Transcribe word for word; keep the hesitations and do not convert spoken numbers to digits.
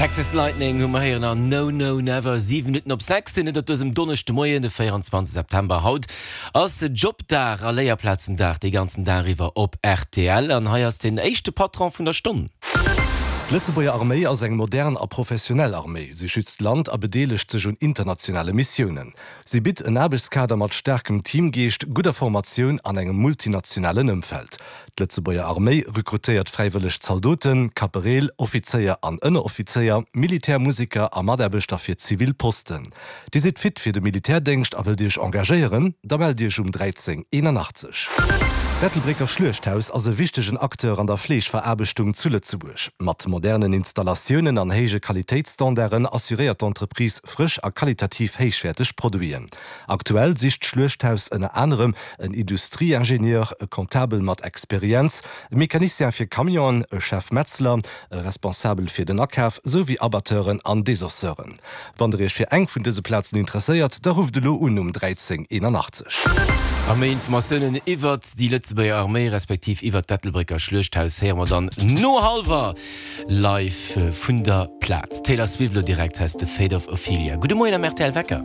Texas Lightning hu mer héieren an No No Never. Siwen Minutten op sechs sinn et op dësem Donneschdemoien, de véierundzwanzeg September. Haut ass Jobdag a Léierplazendag dee ganzen Dag iwwer op rtl. An hei ass den éischte Patron vun der Stonn. D'Lëtzebuerger Arméi ass eng modern a professionell Arméi. Si schützt d'Land a bedeelegt sech un internationale Missiounen. Si bitt en Aarbechtskader mat staarkem Teamgeescht, gudder Formatioun an engem multinationalen Ëmfeld. D'Lëtzebuerger Arméi rekrutéiert fräiwëlleg Zaldoten, Kapereel, Offizéier an Ënneroffizéier, Militärmuseker a Mataarbechter fir zivil Posten. Dir sidd fit fir de Militärdéngscht a wëllt Iech engagéieren? Da mellt Iech um dräizéng eenanachtzeg. D'Ettelbrécker Schluechthaus ass e wichtegen Acteur an der Fleeschveraarbechtung zu Lëtzebuerg. Mat modernen Installatiounen an héije Qualitéitsstandarden assuréiert d'Entreprise frësch a qualitativ héichwäerteg Produiten. Aktuell sicht d'Schluechthaus ënner anerem en Industrieingenieur, e Comptabel mat Experienz, e Mecanicien fir Camionen, e Chef-Metzler, e Responsabel fir den Akaf, souwéi Abatteuren an Desosseuren. Wann der Iech fir eng vun dëse Plazen interesséiert, da rufft elo un um dräizéng eenanachtzeg. A méi Informatiounen iwwert déi Lëtzebuerger Arméi respektiv iwwert d'Ettelbrécker Schluechthaus héiere mer dann no hallwer live vun der Plaz. Taylor Swift elo direkt, hei ass The Fate of Ophelia. Gudde Moien am rtl Wecker.